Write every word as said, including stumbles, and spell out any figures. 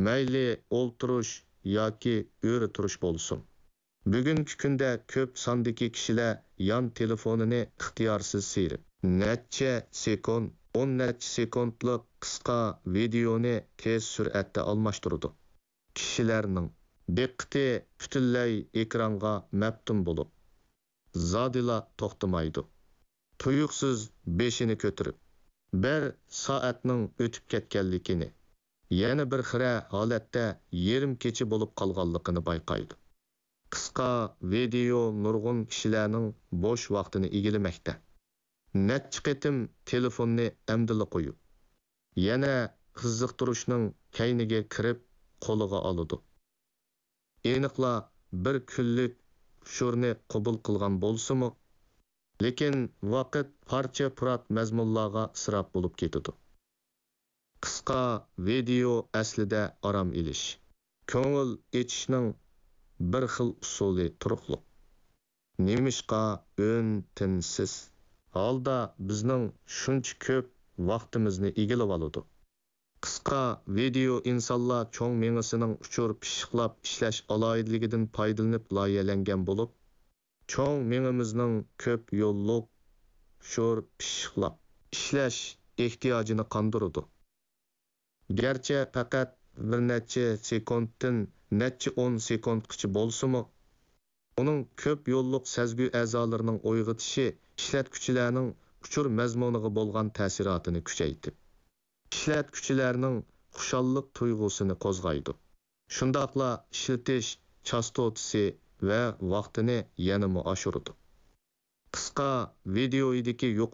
مەيلى ئولتۇرۇش ياكى ئۆرە تۇرۇش بولسۇن. بۈگۈنكى كۈندە كۆپ ساندىكى كىشىلەر يان تېلېفونىنى ئىختىيارسىز سىيرىپ، نەچچە سېكۇنت، ئون نەچچە سېكۇنتلۇق قىسقا ۋىدېئونى تېز سۈرئەتتە ئالماشتۇرىدۇ. كىشىلەرنىڭ دىققىتى پۈتۈنلەي ئېكرانغا مەپتۇن بولۇپ، زادىلا توختىمايدۇ. تۇيۇقسىز بېشىنى كۆتۈرۈپ، بىر سائەتنىڭ ئۆتۈپ كەتكەنلىكىنى، يەنە بىر خىرە ھالەتتە يېرىم كېچە بولۇپ قالغانلىقىنى بايقايدۇ. قىسقا ۋىدېئو نۇرغۇن كىشىلەرنىڭ بوش ۋاقتىنى ئىگىلىمەكتە. نەچچە قېتىم تېلېفوننى ئەمدىلا قويۇپ، يەنە قىزىقتۇرۇشنىڭ كەينىگە كىرىپ قولىغا ئالىدۇ. ئېنىقلا بىر كۈنلۈك ئۇچۇرنى قوبۇل قىلغان بولسىمۇ، لېكىن ۋاقىت پارچە-پۇرات مەزمۇنلارغا ئىسراپ بولۇپ كېتىدۇ. قىسقا ۋىدېئو ئەسلىدە ئارام ئېلىش، كۆڭۈل ئېچىشنىڭ بىر خىل ئۇسۇلى تۇرۇقلۇق. نېمىشقا ئۈن-تىنسىز ھالدا بىزنىڭ شۇنچە كۆپ ۋاقتىمىزنى ئىگىلىۋالىدۇ؟ قىسقا ۋىدېئو ئىنسانلار چوڭ مېڭىسىنىڭ ئۇچۇر پىششىقلاپ ئىشلەش ئالاھىدىلىكىدىن پايدىلىنىپ لايىھەلەنگەن بولۇپ، چوڭ مېڭىمىزنىڭ كۆپ يوللۇق ئۇچۇر پىششىقلاپ ئىشلەش ئېھتىياجىنى قاندۇرىدۇ. گەرچە پەقەت بىر نەچچە سېكۇنتتىن نەچچە ئون سېكۇنتقىچە بولسىمۇ، ئۇنىڭ كۆپ يوللۇق سەزگۈ ئەزالىرىنىڭ ئويغىتىشى ئىشلەتكۈچىلەرنىڭ ئۇچۇر مەزمۇنىغا بولغان تەسىراتىنى كۈچەيتىپ، ئىشلەتكۈچىلەرنىڭ خۇشاللىق تۇيغۇسىنى قوزغايدۇ. شۇنداقلا ئىشلىتىش چاستوتىسى ۋە ۋاقتىنى يەنىمۇ ئاشۇرىدۇ. قىسقا ۋىدېئويدىكى يۇقىرى